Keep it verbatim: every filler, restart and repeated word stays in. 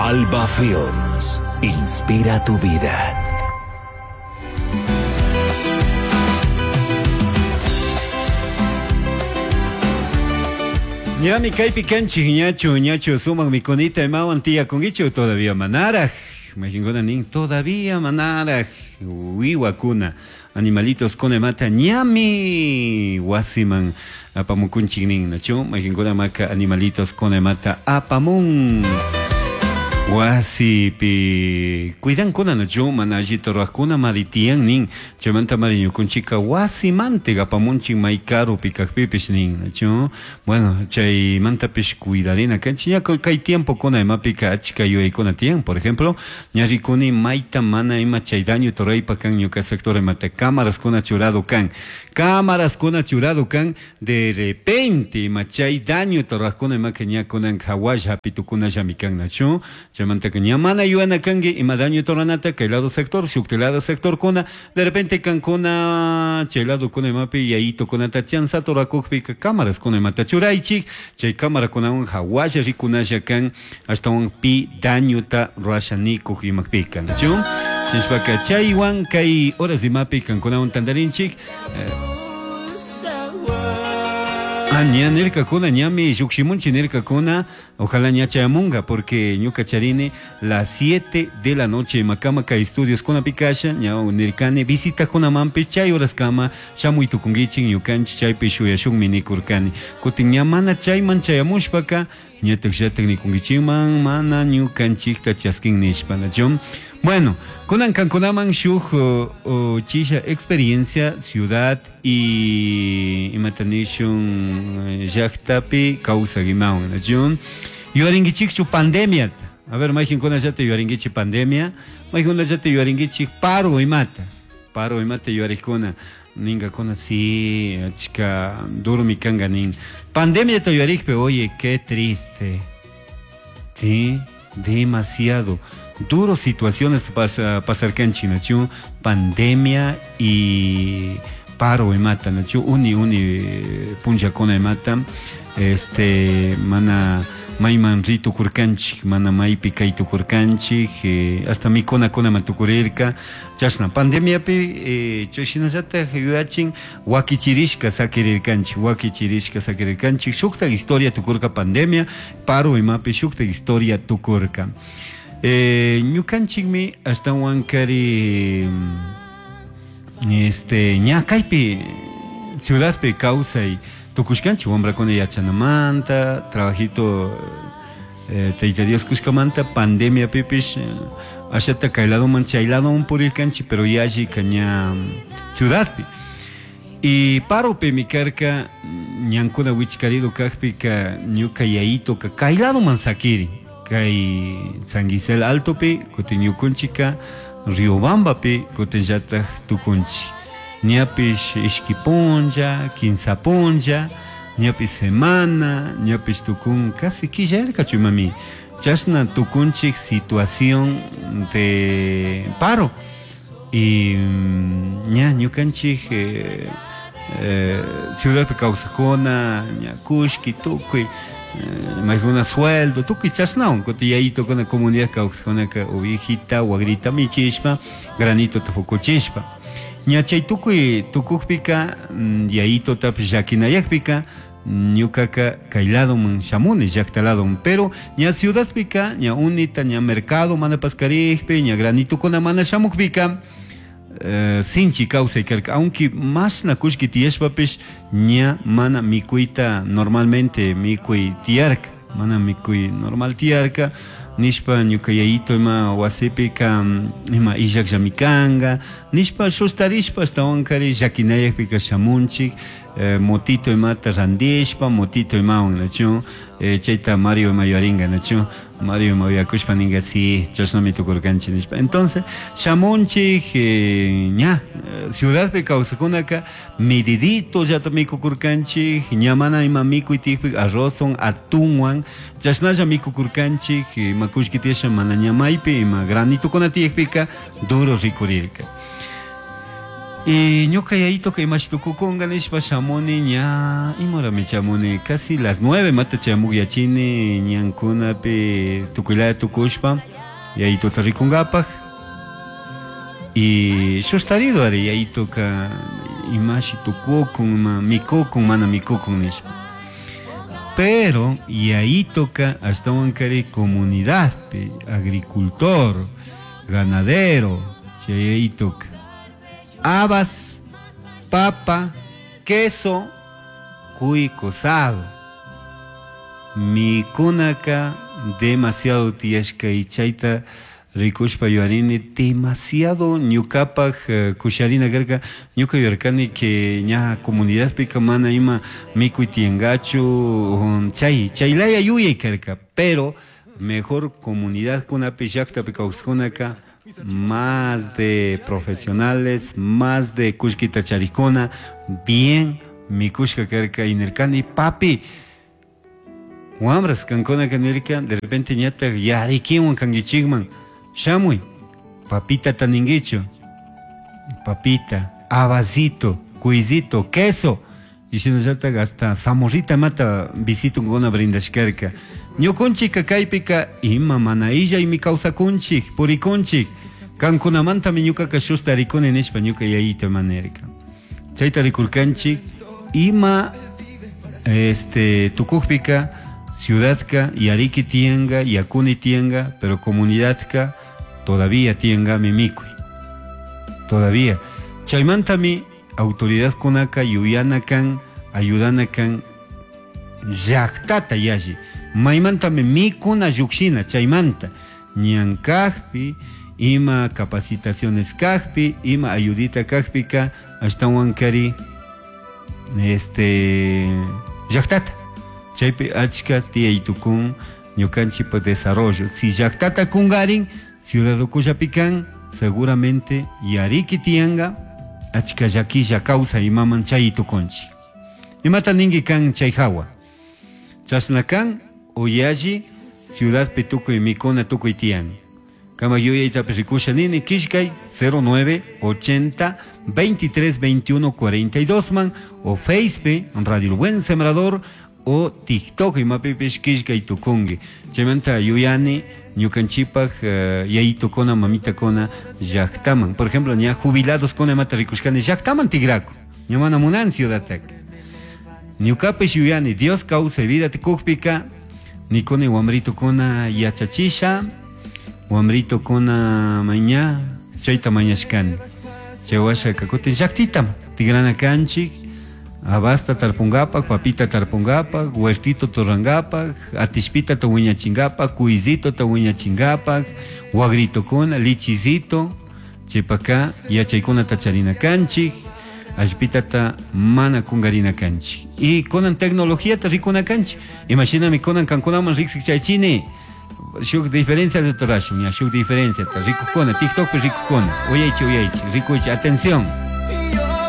Alba Films. Inspira tu vida. Ñami kaypi kanchik ñachu ñachu sumaq mikunita imawan tiyakunkichu todavía manaraj. Majinkuna nin todavía manaraj wiwakuna animalitos kuna imata ñami wasiman apamukunchik nin nachu majinkuna maka animalitos kuna imata apamun. Wasipi cuidankuna nachu mana allita ruwaqkuna maritiyan nin chaymanta mari ñukunchika wasimante apamunchik may karupi kaqpipish nin nachu bueno chaymantapish cuidarina kanchik ña kay tiempokuna imapika achka yuyaykuna tiyan por ejemplo ña rikuni mayta mana ima chay daño ruraypa kan ñuka sector imata cámaraskuna churado kan cámaraskuna churado kan de repente ima chay daño ruwaqkuna imaka ña kunan hawalla hapitukunallami kan nachu chaymantaka ña mana yuyana kanki ima daño ruranata kay lado sector shukti lado sector kuna de repente kankuna chay lado kuna imapi yayitukunata chanzata rurakukpika cámaraskuna imata churaychik chay cámarakunawan hawalla rikunalla kan ashtawan pi dañuta rurasha nikuk imakpika nachu chaypaka chaywan kay horas imapi kankunawan tantarinchik eh, Ah, ña nirkakuna ñami llukshimunchik nirkakuna ojalá ña chayamunga porque ñuka charini las siete de la noche imakama kay estudios kunapi kasha ña nirkani visitakunamanpish chay horaskama shamuy tukunkichik ñukanchik chaypi shuyashunmi nikurkani kutin ña mana chayman chayamushpaka ñatak llatak nikunkichikman mana ñukanchikta chaskin nishpa nachu. Bueno, kunan kankunaman shuk uh, uh, chisha experiencia ciudad y imatanishun llaqtapi kawsaq imawan nachu yuyarinkichikchu pandemia. A ver, mayqinkuna llata yuyarinkichik pandemia, mayqinkuna llata yuyarinkichik paro imata, paro imata yuyariqkuna ninkakuna sí, achka durmi kanka nin. Pandemia yuyarikpi, oye, qué triste. Sí, demasiado duro situaciones pasa pasar kanchik nachu pandemia y paro imata nachu uni uni punllakuna imata este mana mayman ritukurkanchik mana maypi kaytukurkanchik eh, hasta mikunakunaman tukurirka chashna pandemiapi eh, chayshinallatak yuyachin wakichirishka sakirirkanchik wakichirishka sakirirkanchik shuktak historia tukurka pandemia paro imapi shuktak historia tukurka. Eh, ñukanchikmi ashtawankari este ña kaypi ciudadpi kawsay tukushkanchik wambrakuna yachanamanta trabajito eh, Tayta Dios kushkamanta pandemiapipish ashata kay ladoman chay ladoman purirkanchik pero yallika ña ciudadpi y paropimi karka ñankuna wichkarido kaqpika ñuka yayitoka kay ladoman sakirin kay San Gisel Altopi kutin ñukunchika Riobambapi kutin llatak tukunchik ñapish ishki punlla kinsa punlla ñapish semana ñapish tukun casi quillarkachu imami chashna tukunchik situación de paro y ña ñukanchik eh, eh, ciudadpi kawsakuna ña kushki tukuy maykuna sueldo tukuy chashnawan kutin yayitokuna comunidad kawsaqkunaka ovejita wagrita michishpa granito fukuchishpa ña chay tukuy tukukpika yayitotapish llakinayakpika ñukaka kay ladoman shamuni llaqta ladoman pero ña ciudadpika ña unita ña mercado mana paskarikpi ña granitokuna mana shamukpika eh, sinchi kawsay karka aunque mashna kullki tiyashpapish ña mana mikuyta normalmente mikuy tiyarka mana mikuy normal tiyarka nishpa ñuka yayito ima wasipika ima illakllami kanka nishpa sustarishpa ashtawankari llakinayakpika shamunchik eh, motito imata randishpa motito imawan nachu eh, chayta Mario ima yuyarinka nachu Mario ima uyakushpa ninka si chashnami tukurkanchik nishpa entonces shamunchik eh, ña ciudadpi kawsakunaka medidito llata mikukurkanchik ña mana ima mikuy tiyakpika arrozwan atunwan chashnalla mikukurkanchik ima kullki tiyasha mana ña maypi ima granitokuna tiyakpika duro rikurirka. Y ñuka yayitoka imashi tukukunga nishpa shamuni ña imorami chamuni casi las nueve mata chamugyachini ñankunapi tukuylaya tukushpa yayitota rikungapak y sustarido ari yayitoka imashi tukukun ima mikukun mana mikukun nishpa. Pero yayitoka ashtawankari comunidadpi agricultor, ganadero, chay yayitoka habas, papa, queso, cuy cosado. Mikunaka demasiado tiyashka y chayta rikushpa yuyarini demasiado ñukapaj eh, kusharina karka ñuka yuyarkani que ña comunidadpika mana ima mikuy tiyankachu um, chay chaylaya yuyay karka, pero mejor comunidadkunapi llaktapi kawsajkunaka más de profesionales, más de kullkita charikuna, bien mikushka karka y nirkani papi wambras kankunaka nirka de repente ñatak yarikiwan kankichikman shamuy papita ninguichu papita, habasito, cuisito, queso y shinallatak hasta zamorrita mata visitunkuna brindashkarka ñukunchikka kaypika ima mana illaymi kawsakunchik purikunchik kankunamantami ñukaka shusta rikuni nishpa ñuka yayito ima nirka chayta rikurkanchik ima este tukukpika ciudadka yariki tiyanka yakuni tiyanka pero comunidadka todavía tiyankami mikuy todavía chaymantami autoridadkunaka yuyana kan ayudana kan llaktata yalli maymantami mikuna llukshina chaymanta ñan kajpi ima capacitaciones kajpi ima ayudita kajpika ashtawankari este llaktata chaypi achka tiyay tukun ñukanchikpa desarrollo si llaktata kungarin ciudad ukullapi kan seguramente yariki tiyanka achka llakilla kawsay imaman chay tukunchik imata ninki kan chay hawa chashna kan o yalli ciudadpi tukuy mikuna tukuy tiyan kama yuyaytapish rikusha nini killkay cero nueve ochenta veintitrés veintiuno cuarenta y dos man o Facebook Radio El Buen Sembrador o TikTok imapipish killkay tukunki chaymanta yuyani ñukanchikpak uh, yayitukuna mamitakuna llaktaman por ejemplo ña jubilados kuna imata rikushkani llaktaman tigraku ña mana munan ciudadtaka ñukapish yuyani Dios kawsay vida tukukpika nikuni wamritukuna yachachisha wamritukuna maña chayta mañashkani chay washaka kutin llaktitam tigrana kanchik habasta tarpungapak, papita tarpungapak, huertito torrangapak, atishpita ta wiñachingapak, cuisito ta wiñachingapak, wagritokuna, lichizito, chaypaka yachaykunata charina kanchik, allpitata mana kungarina kanchik. Y kunan tecnologiata rikuna kanchik. Imashinami kunan kankunaman riksik chaychini, shuk diferencia de torashun, ya shuk diferencia ta rikukuna, TikTokpi rikukuna, uyaychi uyaychi, rikuychi, atención.